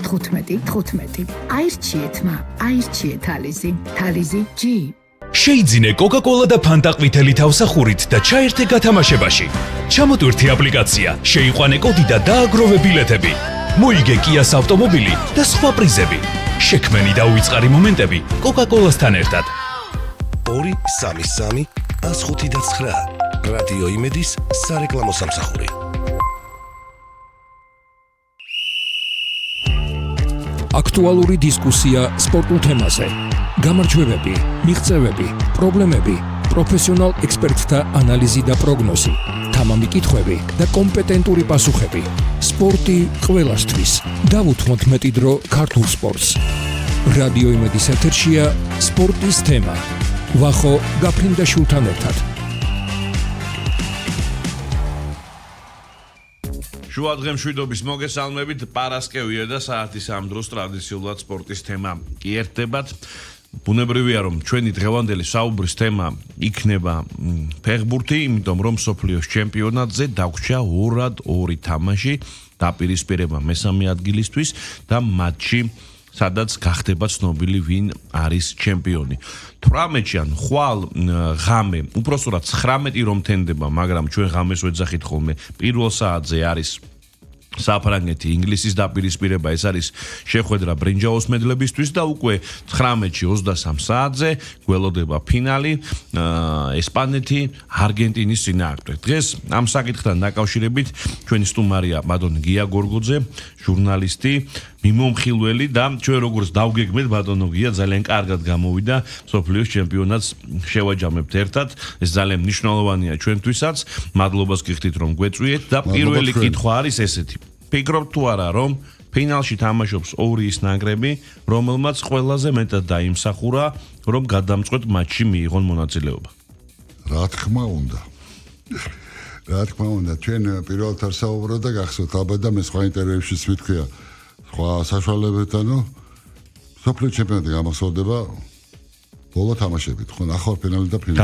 15. აირჩიეთ თალიზი. თალიზი G. შეიძინე Coca-Cola და Fanta ყვითელი თავსახურით და ჩაერთე გათამაშებაში. ჩამოტვირთი აპლიკაცია, შეიყვანე კოდი და დააგროვე ბილეთები. მოიგე Kia-ს ავტომობილი და სხვა პრიზები. შექმენი და უიწყარი მომენტები Coca-Cola-სთან ერთად. 233 105.9 რადიო იმედის სარეკლამო სამსახური. აქტუალური დისკუსია სპორტულ თემაზე. გამარჯვებები, მიღწევები, პრობლემები, პროფესიონალ ექსპერტთა ანალიზი და პროგნოზი, თამამი კითხვები და კომპეტენტური პასუხები. სპორტი ყველასთვის. დავუთმოთ მეტი დრო ქართულ სპორტს. რადიო იმედის ეთერშია სპორტის თემა. ვახო გაფრინდაშვილთან ერთად. შუა დღემშვიდობის მოგესალმებით, პარასკევია და საათის ამ დროს ტრადიციულად სპორტის თემა კი ერთდებათ. ბუნებრივია რომ ჩვენი დღევანდელი საუბრის თემა იქნება ფეხბურთი, იმიტომ რომ მსოფლიოს ჩემპიონატზე დაგვრჩა 2-2 თამაში დაპირისპირება მესამე ადგილისთვის და მატჩი სადაც გახდება ცნობილი ვინ არის ჩემპიონი. 18-ში ან ხვალ ღამე, უпроსტად 19 რომ თენდება, მაგრამ ჩვენ ღამეს ვეძახით ხოლმე პირველ საათზე არის საფრანგეთი, ინგლისის დაპირისპირება, ეს არის შეხვედრა ბრინჯაოს მედლებისთვის და უკვე 19-ში 23 საათზე გველოდება ფინალი ესპანეთი არგენტინის წინააღმდეგ. დღეს ამ საკითხთან დაკავშირებით ჩვენი სტუმარია ბატონი გია გორგოძე, ჟურნალისტი, მიმომხილველი და ჩვენ როგორც დავგეგმეთ ბატონო გია ძალიან კარგად გამოვიდა მსოფლიოს ჩემპიონატს შევაჯამებთ ერთად. ეს ძალიან მნიშვნელოვანია ჩვენთვისაც. მადლობას გიხდით რომ გვეწვიეთ და პირველი კითხვა არის ესეთი. ფიქრობთ თუ არა რომ ფინალში თამაშობს ორი ის ნაკრები, რომელმაც ყველაზე მეტად დაიმსახურა რომ გადამწყვეტ მატჩში მიიღონ მონაწილეობა? რა თქმა უნდა. ჩვენ პირველად საუბრობ და გახსოვთ ალბათ და მე სხვა ინტერვიუებშიც ვიტყვია სხვა საშუალებებთანო სოფლიო ჩემპიონატი გამახსოვდება ბოლო თამაშებით, ხო, ნახევარ ფინალი და ფინალი.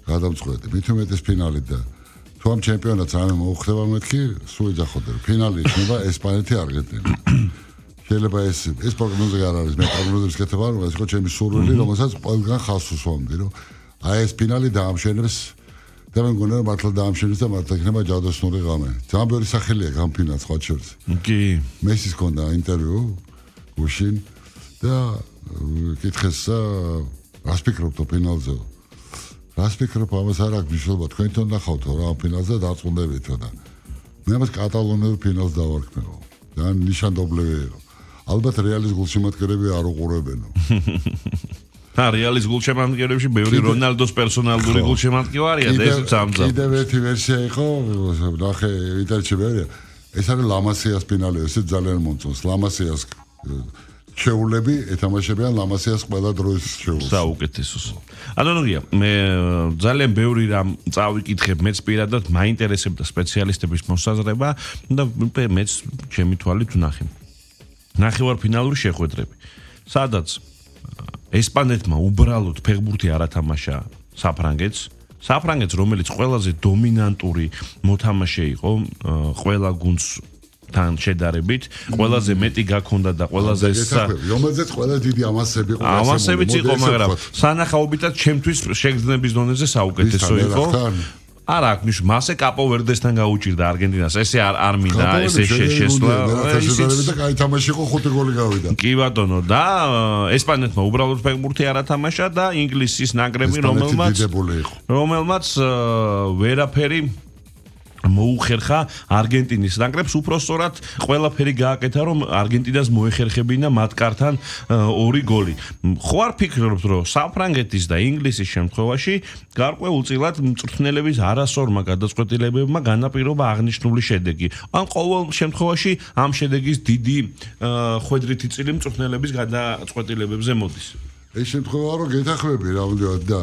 გადამწყვეტი. მით უმეტეს ფინალი და თუ ამ ჩემპიონატს რამე მოუხდება მეთქი, სულ ეძახოდა რომ ფინალი იქნება ესპანეთი არგენტინა. შეიძლება ეს პროგნოზი არ არის, მე პროგნოზებს კეთებ არ ვარ, ეს ხო ჩემი სურვილი, რომელსაც ყველგან ხალხს უსვამდი, რომ აი ეს ფინალი დაამშვენებს და მე მგონია რომ მართლა დაამშვენებს და მართლა იქნება ჯადოსნური ღამე. ძალიან ბევრი სახელია ამ ფინალს სხვა შორის. კი. მესის ჰქონდა ინტერვიუ გუშინ და კითხეს რას ფიქრობთ ფინალზე? რას ფიქრობ ამას არ აქვს მნიშვნელობა, თქვენ თვითონ ნახავთ რა ამ ფინალზე დარწმუნდებითო და მე ამას კატალონიურ ფინალს დავარქმევ. ძალიან ნიშანდობლივია. ალბათ რეალის გულშემატკივრები არ უყურებენო. რეალის გულშემატკივრებში ბევრი რონალდოს პერსონალური გულშემატკივარია და ეს წამძა. კიდევ ერთი ვერსია იყო, ნახე ინტერნეტში ბევრია. ეს არის ლამასიას ფინალი, ეს ძალიან მომწონს. ლამასიას შეულები ეთამაშებიან ლამასიას ყველა დროის შეულს. საუკეთესოს. ანონია, მე ძალიან ბევრი რამ წავიკითხებ, მეც პირადად მაინტერესებდა სპეციალისტების მოსაზრება და მეც ჩემი თვალით ვნახე. ნახევარფინალური შეხვედრები, სადაც ესპანეთმა უბრალოდ ფეხბურთი არ ათამაშა საფრანგეთს, რომელიც ყველაზე დომინანტური მოთამაშე იყო ყველა გუნდს თან შედარებით, ყველაზე მეტი გაქონდა და ყველაზე რომელზეც ყველა დიდი ამასები იყო. ამასებიც იყო, მაგრამ სანახაობითაც ჩემთვის შეგრძნების დონეზე საუკეთესო იყო. არა, ნიშნ მასე კაპო ვერდესთან გაუჭირდა არგენტინას. ესე არ მინდა, ესე შესვლა. ესეც და კაი თამაში იყო, 5 გოლი გავიდა. კი ბატონო, და ესპანეთმა უბრალოდ ფეხბურთი არ ათამაშა და ინგლისის ნაკრები, რომელმაც ვერაფერი მოუხერხა არგენტინის ნაკრებს, უпроსტად ყველაფერი გააკეთა რომ არგენტინას მოეხერხებინა მათ კართან 2 გოლი. ხო არ ფიქრობთ რომ საფრანგეთის და ინგლისის შემთხვევაში გარკვეულწილად მწვრთნელების არასორმა გადაწყვეტილებებმა განაპირობა აღნიშნული შედეგი. ან ყოველ შემთხვევაში ამ შედეგის დიდი ხვედრითი წილი მწვრთნელების გადაწყვეტილებებზე მოდის. ეს შემთხვევა რომ გეთახმები რამოდენად და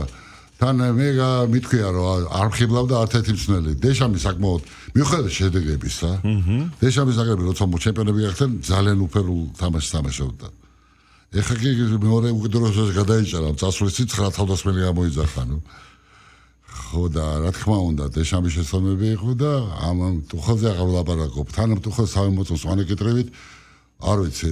თან მე მითქვია რომ არ ხიბლავდა არც-ერთი მწვრთნელი. დეშამი საკმაოდ მიუხედავად შედეგებისა, დეშამის ნაკრები როცა ჩემპიონები გახდნენ ძალიან უფერულ თამაშს თამაშობდა. ეხლა კი მეორე უკიდურესობას გადაიჭარა, წასვლის 9 თავდასხმელი გამოიძახა, ნუ. ხო და რა თქმა უნდა, დეშამის შესაბამები იყო და ამ ტუხელზე აღარ ვლაპარაკობ. თან ტუხელს სამი მოწონს, ანეკეტრებით არ ვიცი